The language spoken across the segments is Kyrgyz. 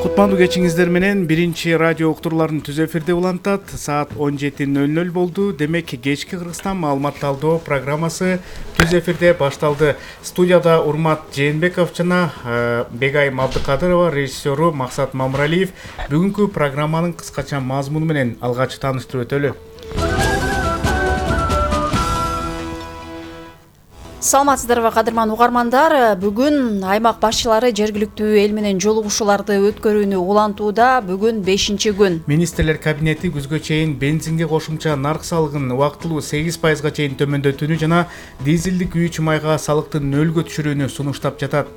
Кутмандуу кечиңиздер менен биринчи радио уктурууларын түз эфирде улантат. Саат 17:00 болду. Демек кечки Кыргызстан маалыматталдоо программасы түз эфирде башталды. Студияда Урмат Жээнбеков жана Бегайым Абдыкадырова, режиссеру Максат Мамыралиев. Бүгүнкү программанын кыскача мазмуну менен алгач тааныштырып өтөлү. Саламатсыздарбы кадырман угармандар. Бүгүн аймак башчылары жергиликтүү эл менен жолугушууларды өткөрүүнү улантууда. Бүгүн 5-күн. Министрлер кабинети күзгө чейин бензинге кошумча нарк салыгын убактылуу 8%га чейин төмөндөтүүнү жана дизелдик үй майга салыктын 0-гө түшүрүүнү сунуштап жатат.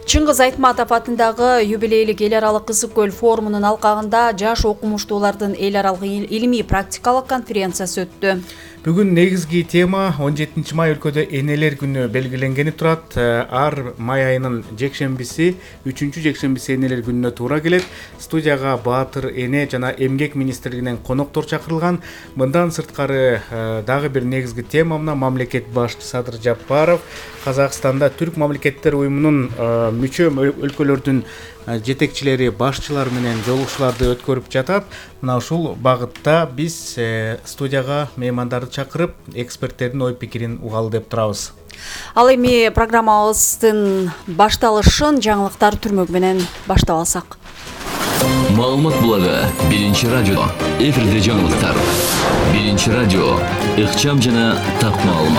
Чыңгыз Айтматов атындагы юбилейлик эл аралык Ысык көл форумунун алкагында жаш окумуштуулардын эл аралык илимий практикалык конференциясы өттү. Бүгүн негизги тема 17 май өлкөдө энелер күнү белгиленгени турат. Ар май айынын жекшембиси, 3-чү жекшембиси энелер күнүнө туура келет. Студияга Баатыр эне жана эмгек министрлигинен коноктор чакырылган. Мындан сырткары дагы бир негизги тема мына мамлекет башчысы Садыр Жапаров Казакстанда Түрк мамлекеттер уюмунун мүчө өлкөлөрдүн жетекчилери, башчылар менен жолугушууларды өткөрүп жатат. Мына ушул багытта биз студияга меймандарды чакырып, эксперттердин ой пикирин угалы деп турабыз. Ал эми программабыздын башталышын жаңылыктар түрмөк менен баштап алсак. Маалымат булагы биринчи радио. Эфирде жаңылыктар. Биринчи радио. Ыкчам жана так маалымат.